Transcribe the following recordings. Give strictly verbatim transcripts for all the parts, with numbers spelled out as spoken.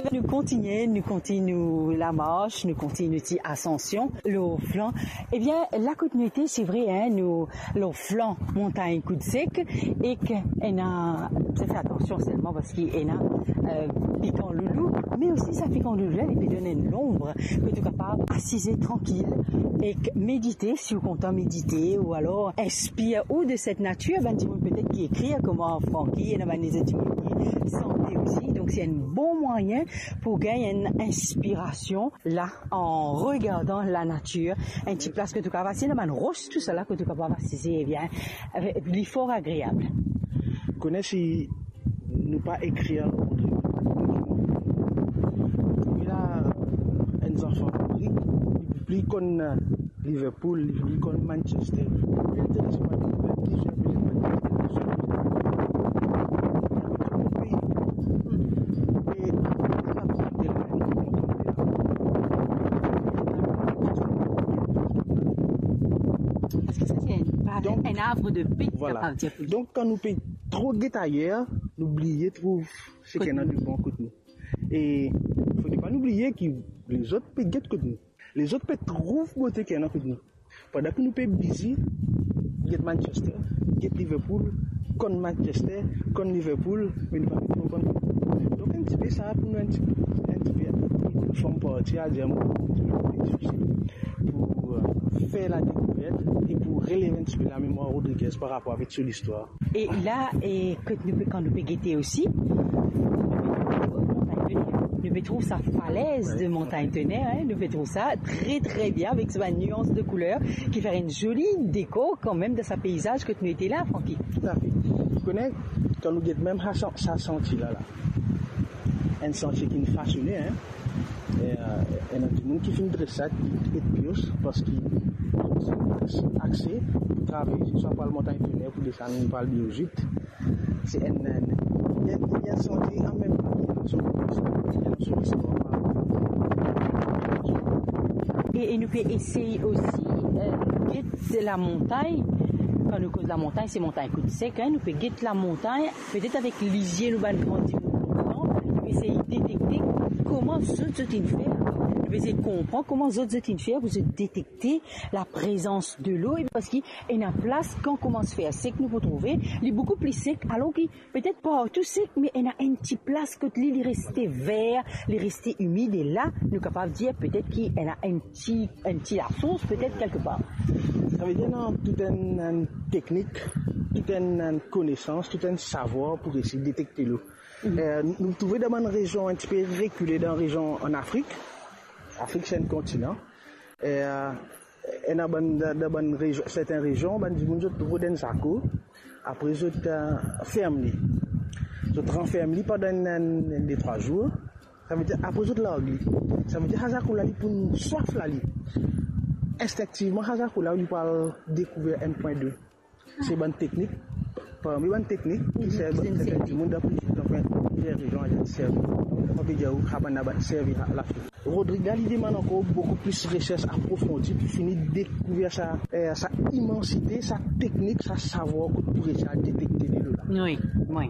Nou kontigne, nou kontigne nou lamars, nou kontigne nou ti asansion lor flan. Ebien, la kot nou ete, se vre, hein, nou lor flan montagn Kout Sek, ek ena, sa fer atansion selman parski ena, euh, pikan loulou, me osi sa pikan loulou la, li pe donn enn lonb kot ou kapav asize trankil ek medite, si ou kontan medite, ou alor inspir ou de set natir. Bann dimoun petet ki ekrir kouma Francky, ena bann lezot dimoun ki sante osi. Donk, se enn bon mwayin pou gagn enn inspirasion la, an regardan lanatir, enn ti plas kot ou kapav asize, ena bann ros, tousala kot ou kapav asize, ebien, li for agreab. Kone si nou pa ekrir Rodrig, me la, enn zanfan Rodrig, li pli konn Liverpool, li pli konn Manchester. Li enterese pa ki zot pe Manchester. E apre, li pa konn telman. Parski sa, se enn, donk, enn arbre de paix, vwala, ki appartient pou li. Donk, kan nou pe tro get ayer, nou bliye trouv seki ena de bon kot nou. E fode pa nou bliye ki lezot pe get kot nou. Lezot pe trouv bote ki ena kot nou. Pandan ki nou pe bizi get Manchester, get Liverpool, konn Manchester, konn Liverpool, me nou pa pe tro konn. Donk, enn tipe sa pou nou, enn tipe, enn tipe, pou nou form parti, a dir, enn tipe difisil pou, euh, fer ladekouvert e pou relev enn tipe lamemwar Rodriguez par rapor avek so listwar. E la, e kot nou pe, kan nou pe gete osi, nou pe trouv sa falez de Montagne Tonnerre, hein, nou pe trouv sa tre, tre bien avek sa bann nians de kouler ki fer enn zoli dekor kanmem dan sa peizaz kot nou ete la, Francky. Toutafe. Ou kone, kan nou get mem sa, sa santie la, la, enn santie ki finn fasone, hein, e, euh, ena dimoun ki finn dres sa, ki et pios, parski zot ti axe pou travers, swa pou al Montagne Tonnerre, pou desann, pou al Beyrouth. Se enn, enn, enn, enn santie anmemtan ki ena so, ena so listwar. E, e nou pe esey osi, euh, get lamontagn. Kan nou koz lamontagn, se Montagne Kout Sek, hein, nou pe get lamontagn, petet avek lizie nou bann gran dimoun, nou pe esey detekte kouma zot, zot inn fer. Nou pe esey konpran kouma zot, zot inn fer pou zot detekte laprezans delo, e parski ena plas, kan koumans fer sek, nou pou trouve li boukou pli sek, alor ki petet partou sek, me ena enn ti plas kot li, li reste ver, li reste imid, e la, nou kapav dir petet ki ena enn ti, enn ti lasous, petet kelkepar. Savedir, ena tou enn, enn teknik, tou enn, enn konesans, tou enn savwar pou resi detekte lo. Mhm. Eh, nou trouve dan bann rezion enn tipe rekile, dan rezion an Afrik. Afrik, se enn kontinan. Eh, ena bann, dan, dan bann rezion, sertin rezion, bann dimoun zot rod enn zako, apre zot, eh, ferm li. Zot ranferm li pandan enn, enn, enn de trwa zour. Savedir, apre zot larg li. Savedir, sa zako la, li pou swaf la, li. Instinktivman, sa zako la, li pou al dekouver enn pwin dlo. Se bann teknik, parmi bann teknik ki servi, ki servi dimoun dan plizier, dan plizier rezion, servi. Mo pe dir ou, sa bann la, bann servi Lafrik. Rodrig la, li demann ankor boukou plis resers aprofondi pou fini dekouver sa, eh, sa imansite, sa teknik, sa savwar kot pou resi al detekte delo la. Wi, wi.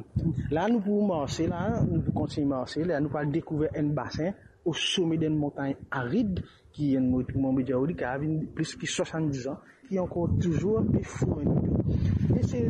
La, nou pou marse la, nou pou kontign marse la, nou pou al dekouver enn basin o some d'enn montagn arid, ki enn mo-, mo pe dir ou, li kapav vinn plis ki swasanndizan, ki ankor touzour pe fourni dlo. E se,